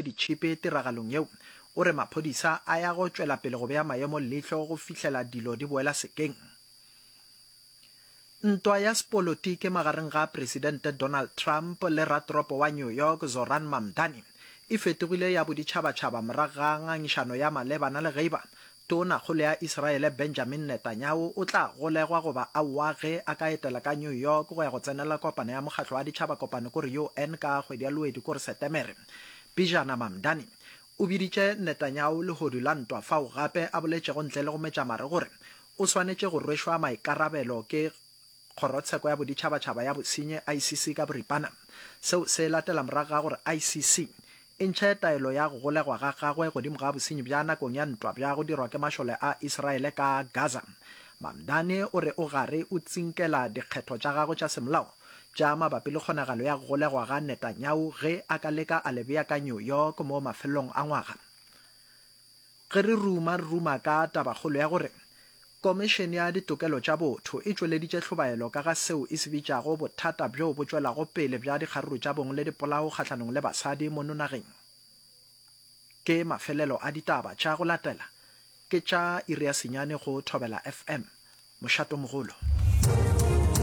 ke ditšhipi tiragalong yeo. O re maphodisa a ya go tšwela pele go bea maemo leihlo go fihlela dilo di boela sekeng. Ntwa ya sepolotiki magareng ga Presidente Donald Trump le ratoropo wa New York Zohran Mamdani e fetogile ya boditšhabatšhaba morago ga ngangišano ya malebana le ge eba Tonakgolo ya Israele Benjamin Netanyahu o tla golegwa goba aowa ge a ka etela ka New York go ya go tsenela kopano ya Mokgatlo wa Ditšhabakopano kore UN ka kgwedi ya Lwedi kore Setemere. Pejana Mamdani o biditše Netanyahu lehodu la ntwa fao gape a boletšego ntle le go metša mare gore o swanetše go rwešwa maikarabelo ke Kgorotsheko ya Boditšhabatšhaba ya Bosenyi, ICC, ka boripana. Seo se latela morago ga gore ICC e ntšhe taelo ya go golegwa ga gagwe godimo ga bosenyi bja nakong ya ntwa bja go dirwa ke mašole a Israele ka Gaza. Mamdani o re o gare o tsinkela dikgetho tša gagwe tša semolao tša mabapi le kgonagalo ya go golegwa ga Netanyahu ge a ka leka a le bea ka New York mo mafelelong a ngwaga. Ge re ruma, re ruma ka tabakgolo ya gore Komišene ya Ditokelo tša Botho e tšweleditše hlobaelo ka ga seo e se bitšago bothata bjo bo tšwelago pele bja dikgaruru tša bong le dipolao kgahlanong le basadi mono nageng. Ke mafelelo a ditaba tša go latela ke tša iri ya senyane go Thobela FM, mošatomogolo.